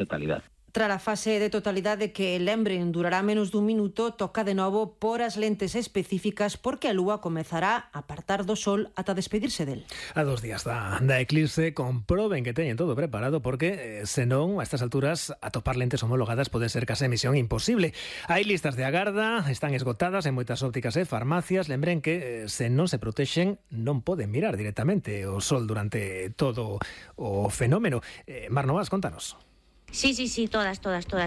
totalidade. Tras a fase de totalidade que, lembren, durará menos dun minuto, toca de novo por as lentes específicas porque a lúa comezará a apartar do sol ata despedirse del. A 2 días da eclipse, comproben que teñen todo preparado porque, senón, a estas alturas, atopar lentes homologadas pode ser case misión imposible. Hai listas de agarda, están esgotadas en moitas ópticas e farmacias. Lembren que, se non se protexen, non poden mirar directamente o sol durante todo o fenómeno. Mar Novas, contanos. Sí, todas.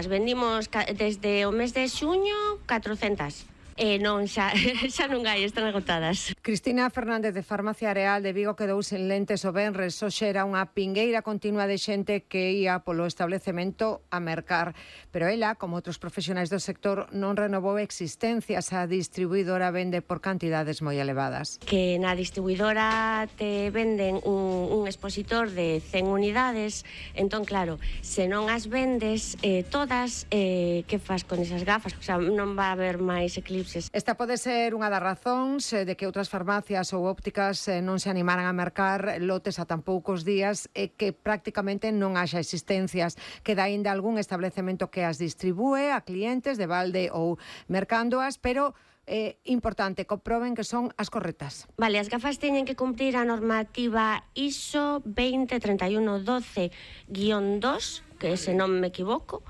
Vendimos desde o mes de xuño 400. Non, xa non hai, están agotadas. Cristina Fernández de Farmacia Areal de Vigo quedou sen lentes o venres. Hoxe era unha pingueira continua de xente que ia polo establecemento a mercar. Pero ela, como outros profesionais do sector, non renovou existencias. A distribuidora vende por cantidades moi elevadas. Que na distribuidora te venden un expositor de 100 unidades. Entón, claro, se non as vendes todas, que fas con esas gafas? O sea, non va a haber máis eclipse. Esta pode ser unha das razóns de que outras farmacias ou ópticas non se animaran a mercar lotes a tan poucos días e que prácticamente non haxa existencias. Queda aínda algún establecemento que as distribúe a clientes de balde ou mercándoas, pero importante, comproben que son as correctas. Vale, as gafas teñen que cumprir a normativa ISO 203112-2, que se non me equivoco,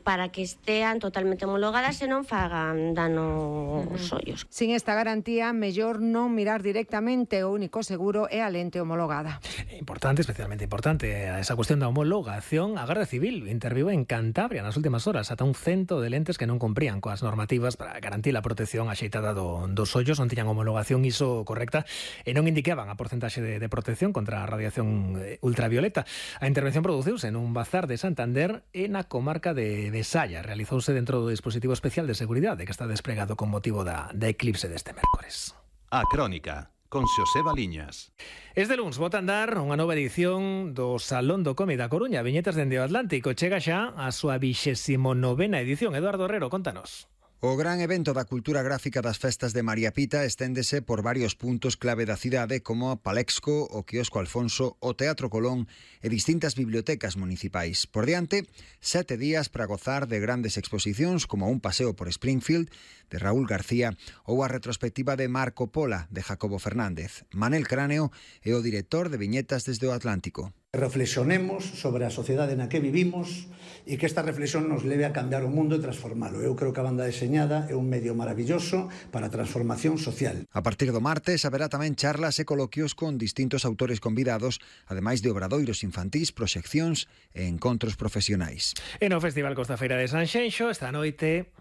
para que estean totalmente homologadas e non fagan dano aos ollos. Sin esta garantía, mellor non mirar directamente. O único seguro é a lente homologada. Importante, especialmente importante, a esa cuestión da homologación. A Garda Civil interviu en Cantabria nas últimas horas ata un 100 de lentes que non cumprían coas normativas para garantir a protección axeitada dos ollos, non tiñan homologación ISO correcta e non indicaban a porcentaxe de protección contra a radiación ultravioleta. A intervención produciuse en un bazar de Santander e na comarca de Besaya. Realizouse dentro do dispositivo especial de seguridade que está desplegado con motivo da eclipse deste mércores. A Crónica, con Xosé Baliñas. Este luns bota a andar unha nova edición do Salón do Cómic da Coruña, Viñetas dende o Atlántico. Chega xa a súa 29ª edición. Eduardo Herrero, contanos. O gran evento da cultura gráfica das festas de María Pita esténdese por varios puntos clave da cidade como a Palexco, o Quiosco Alfonso, o Teatro Colón e distintas bibliotecas municipais. Por diante, 7 días para gozar de grandes exposicións como un paseo por Springfield de Raúl García ou a retrospectiva de Marco Pola de Jacobo Fernández. Manel Cráneo é o director de Viñetas desde o Atlántico. Reflexionemos sobre a sociedade na que vivimos e que esta reflexión nos leve a cambiar o mundo e transformalo. Eu creo que a banda deseñada é un medio maravilloso para a transformación social. A partir do martes haberá tamén charlas e coloquios con distintos autores convidados, ademais de obradoiros infantís, proxeccións e encontros profesionais. E no Festival Costa Feira de Sanxenxo esta noite